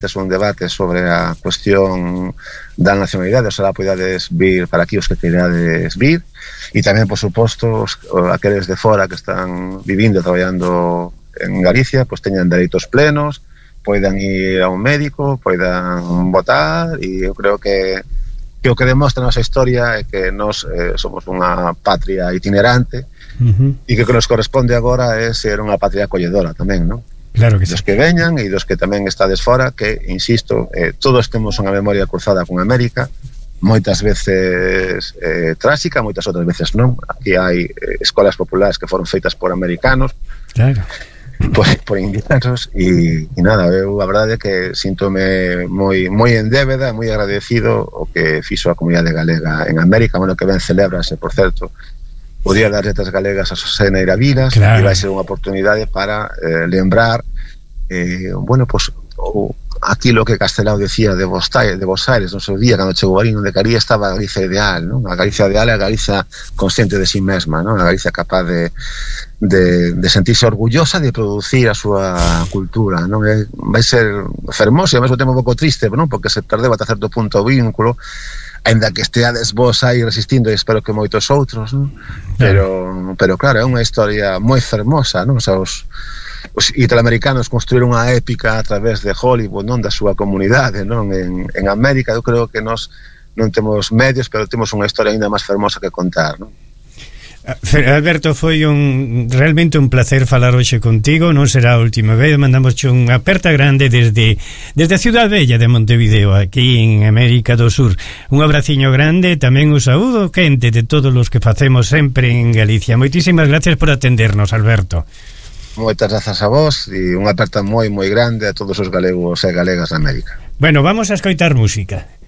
un debate sobre a cuestión da nacionalidade, oxalá podades vir para aquí os que queirades vir, e tamén, por suposto, aqueles de fora que están vivindo e traballando en Galicia, pois teñan dereitos plenos, poidan ir a un médico, poidan votar, e eu creo que o que demostra a nosa historia é que nós somos unha patria itinerante, e que o que nos corresponde agora é ser unha patria acolledora tamén, non? Claro que sí. Dos que veñan e dos que tamén estades fora, que, insisto, todos temos unha memoria cruzada con América, moitas veces tráxica, moitas outras veces non. Aquí hai escolas populares que foron feitas por americanos, claro, por indianos, e nada, eu a verdade é que síntome moi en débeda, moi agradecido o que fixo a comunidade galega en América, bueno, que ben celébrase, por certo, o Día das Letras Galegas a Xosé Neira Vilas, claro, e vai ser unha oportunidade para lembrar bueno, pues aquilo que Castelao decía de Bos Aires no seu día, cando chegou ali, onde quería estaba a Galicia ideal, non? A Galicia ideal é a Galicia consciente de si mesma, non? A Galicia capaz de sentirse orgullosa de producir a súa cultura, non? Vai ser fermoso e ao mesmo tempo un pouco triste, non? Porque se perdeu ata certo punto o vínculo, ainda que esteades vos aí resistindo, e espero que moitos outros, non? Pero claro, é unha historia moi fermosa, non? O sea, os italoamericanos construíron unha épica a través de Hollywood, non? Da súa comunidade, non? En América eu creo que nós non temos medios, pero temos unha historia ainda máis fermosa que contar, non? Alberto, foi realmente un placer falar hoxe contigo, non será a última vez, mandamos unha aperta grande desde a Ciudad Bella de Montevideo, aquí en América do Sur. Un abraciño grande, tamén un saúdo quente de todos os que facemos sempre en Galicia. Moitísimas gracias por atendernos, Alberto. Moitas grazas a vos e unha aperta moi grande a todos os galegos e galegas de América. Bueno, vamos a escoitar música.